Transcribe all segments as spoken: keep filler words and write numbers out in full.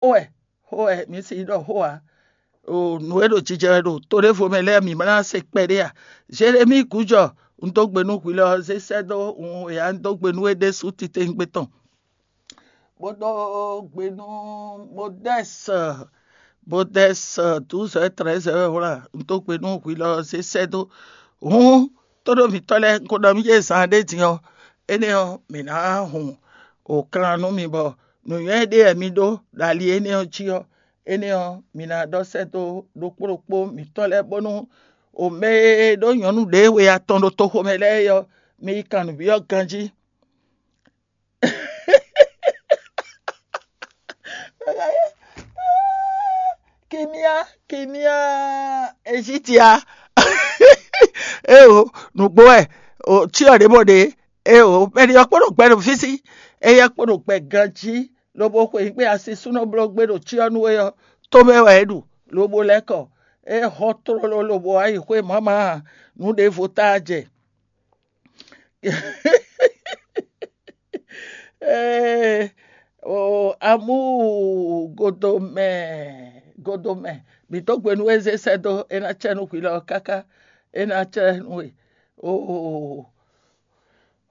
Xó wɛ, xó wɛ, mǐ si ɖɔ xó ǎ. O nǔ e ɖo jijɛ wɛ ɖo to ɖěvo mɛ lɛ́ɛ mǐ ma ná se kpɛɖé a? Zelemíi gǔjɔ, un dó gbe nú hwi lɔ ɔ́, zé sɛ́ dó un e ǎ, un dó gbe nú we ɖésú titewungbe tɔn. Bó dó gbe nú Modɛ́si, Modɛ́si douze heures treize heures wlá, un dó gbe nú hwi lɔ ɔ́, zé sɛ́ dó. Hǔn, tóɖó mǐtɔn lɛ́ɛ, un ko ɖɔ mì jɛ zan ɖé din ɔ́, énɛ́ ɔ́, mǐ ná hun o kan nú mi bɔ nǔnywɛ́ ɖé wɛ mi ɖó ɖo ali énɛ́ ɔ́ jí ɔ́, énɛ́ ɔ́, mi ná ɖɔ sɛ́ dó ɖokpó ɖokpó mǐtɔn lɛ́ɛ, bónú o mɛ e ɖó nyɔ̌nu ɖě we atɔn ɖo toxo mɛ lɛ́ɛ é ɔ́, mi yi kan nǔbyɔ́ ganjí. Kimia, kimia, Ezitia. Eo, nǔgbó wɛ, o cyɔ ɖě mɔ ɖě. Eo, mɛ ɖi ɔ́ kpo ɖo gbɛ ɖo fí sí, éyɛ́ kpo ɖo gbɛ ganjí, lobo xwe nyǐkpé asisúnɔ bló gbé ɖo cyɔ nú we ɔ́, tomɛ wɛ é ɖu, lobo lɛ́ kɔ. É hɔn tlóló lobo wá yi xwé mǎmá, nǔ ɖěvo táá jɛ. Ee, o amú godomɛ, godomɛ, mǐ dó gbe nú we zé sɛ́ dó, é ná cɛ nú hwi lɔ káká, é ná cɛ nú we. Oo,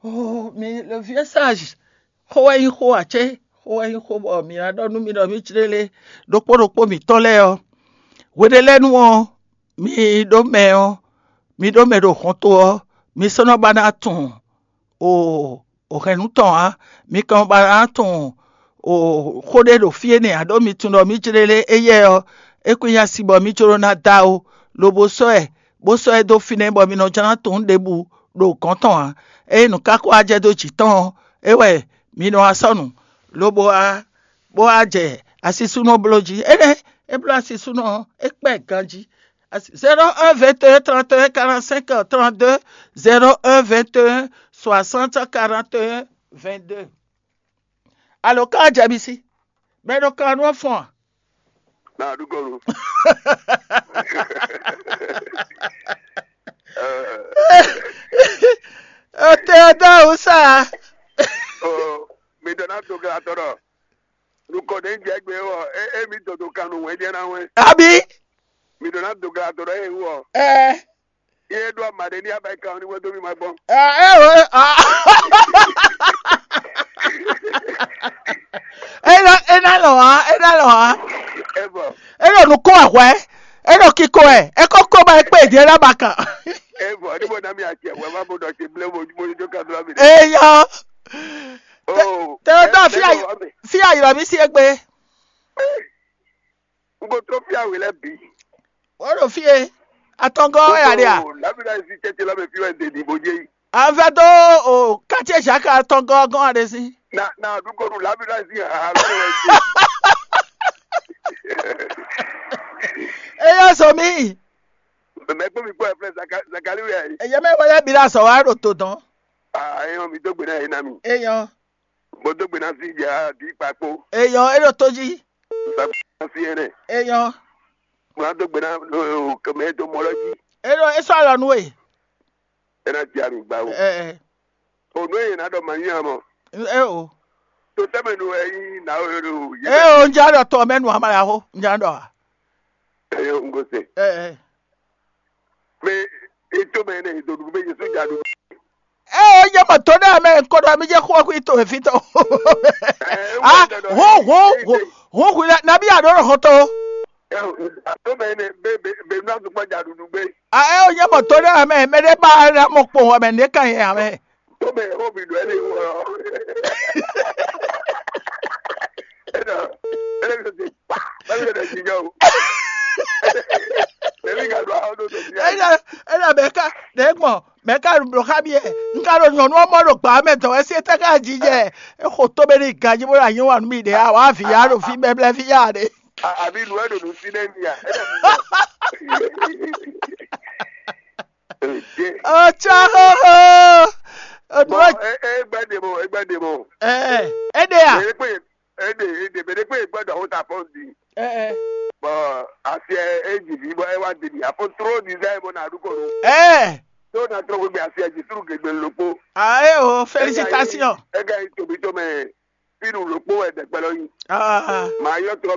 oo, mi le vieux sage, xó wɛ nyí xó ǎ cé? Xó wɛ nyí xó bɔ mǐ ná ɖɔ nú mi ɖɔ mǐ jlélé ɖokpó ɖokpó mǐtɔn lɛ́ɛ ɔ́, hweɖélɛ́nu ɔ́, mi ɖó mɛ ɔ́, mi ɖó mɛ ɖo hɔnto ɔ́, mi sɔ́ nɔ ba ná tunwun o o hɛ̌nnu tɔn ǎ. Mi ka ba ná tunwun o xó ɖé ɖo fí énɛ́ ǎ, ɖó mi tunwun ɖɔ mǐ jlélé éyɛ́ ɔ́, é kún nyí asi bɔ mǐ jló ná dó awo, lobo sɔ́ ɛ, bó sɔ́ ɛ dó fínɛ́ bɔ mi nɔ jló ná tunwun ɖěbǔ ɖo gɔ̌n tɔn ǎ. Ényí nǔ ka ko wá jɛ dó jǐ tɔn ɔ́, é wɛ mi nɔ wá sɔ́ nǔ, lobo wá bó wá jɛ asisúnɔ bló jí. Énɛ́ é bló asisúnɔ ɔ́, é kpɛ́ ganjí. Zéro un vingt et un trente et un quarante-cinq trente-deux, zéro un vingt et un soixante quarante et un vingt-deux. Alo ka jɛ mi sí, mɛ ɖo kan nú ɔ́ fɔn a? Na ɖu kɔnu. Ete ɔ́ dó awu sá. Mi ɖɔ ná do gla tɔ ɖɔ nukɔ ɖe jɛ gbe wɔ e mi dodo kan nú wɛn jɛ na wɛn. Abi. Mi ɖɔ ná do gla tɔ ɖɔ e wɔ. Ɛ. Ye ɖo ama ɖe ní abayi kan ní wɛn dó mi ma gbɔn. Ɛ o. Ena ena lɔ ha, ena lɔ ha. Ebo. Eno nukun ahwɛ. Eno kiko ɛ. Eko ko ba ekpe diɛ na ba kan. Ebo. Ni mo na mi ati ahwɛ ma mo dɔ ti ble mo mo jo ka do mi. Eya. Oh. Te o dɔ fi ayi fi ayi lɔ mi si egbe. N ko tró fí awě lɛ́ɛ bǐ. Wǒ ɖo fí e atɔngɔ́ wɛ a ɖe a? Lábí náà sí tɛ́tɛ́ lɔ́ mɛ fí wɛ ɖe ɖi bó jẹ́ yìí. An vɛ dó o quartier Jacques atɔngɔ́ gɔ́n a ɖe sí. Na na àdúgbò nù lábí náà sí àhà lọ́dọ̀ wẹ̀ ṣe. Eyɔ sọ mí. Mɛ kpó mi kpó ẹ flɛ Zakali wẹ̀ yìí. Eyɔ mɛ wọlé bi la sọ wa ɖo to dɔn. Aa eyɔ mi dó gbe náà yìí ná mi. Eyɔ. Mo dó gbe ná sí ìjà àbí ìpapò. Eyɔ é ɖo tó jí. Ìpapò ná sí ẹnẹ. Eyɔ. Mo ná dó gbe ná kẹmẹ tó mọ lọ jí. É ɖo é sɔ́ alɔ nú we. Ẹ ná jẹ àmì gbà o. Ɛ ɛ. Ònú èyí ná dọ̀ màá yín àmọ́. Ɛ o. Tó tẹ́mẹ̀ nu ẹ̀yìn náà ó yẹ ló yé. Ɛ o ń já dọ̀ tọ̀ mẹ́nu àmàlà ó ń já dọ̀ a. Ẹ yóò ń gòsè. Ɛ ɛ. Mɛ ètò mɛ ne ìdòdò bɛ Jésù jáde. Ɛ o nyɛ mɔ tó ɖe mɛ nkɔ ɖɔ mi jɛ xɔ kú ito efi tɔ. Ah, ho ho ho ho hu la nabi ado ɖo xɔtɔ. Ètò mɛ ne bɛ bɛ bɛ nua tó kpɔ jáde gbé. Ah, ɛ o nyɛ mɔ tó ɖe mɛ mɛ ɖe ba na mɔ kpɔn wɔ mɛ ne ka yɛ amɛ. Tó mɛ ho bi do ɛlɛ wɔ. Ɛnɔ ɛlɛ bi do ti pa ɛlɛ bi do ti jɔ o. Ɛlɛ ka do awo do do ti. Ɛnɔ ɛnɔ mɛ ka ɖe gbɔn mɛ ka ɖo blɔ xa mi yɛ. N ka ɖo nyɔnu ɔmɔ ɖo gba mɛ dɔn ɛsɛ tɛ ka dzi jɛ. Exo tó bɛ ni ganji bó la nyɛ wa nú mi ɖe a wa vi ya ɖo fi bɛblɛ fi ya ɖe. Àbí lu ẹ ɖo nù sí nẹ mi à. Ɔtsɔ xoxo. Bɔn egbe ɖe mo egbe ɖe mo. Ɛ ɛ ɖe a. Ede ede ede bɛ ɖe kpe egbe ɖɔ o ta fɔn di. Ɛ ɛ. Bɔn asi ɛ eji vi bɔ ɛ wa di mi afɔ tro di zɛ mo na du ko do. Ɛ. Tó na trɔ gbogbo asi ɛ ji suru gbegbe lokpo. Ayo, félicitations. Ega yi tobi to mɛ. fínu ɖokpó wɛ ɖɛkpɛ lɔ nyi. Ah, Màá yɔ trɔ mɛ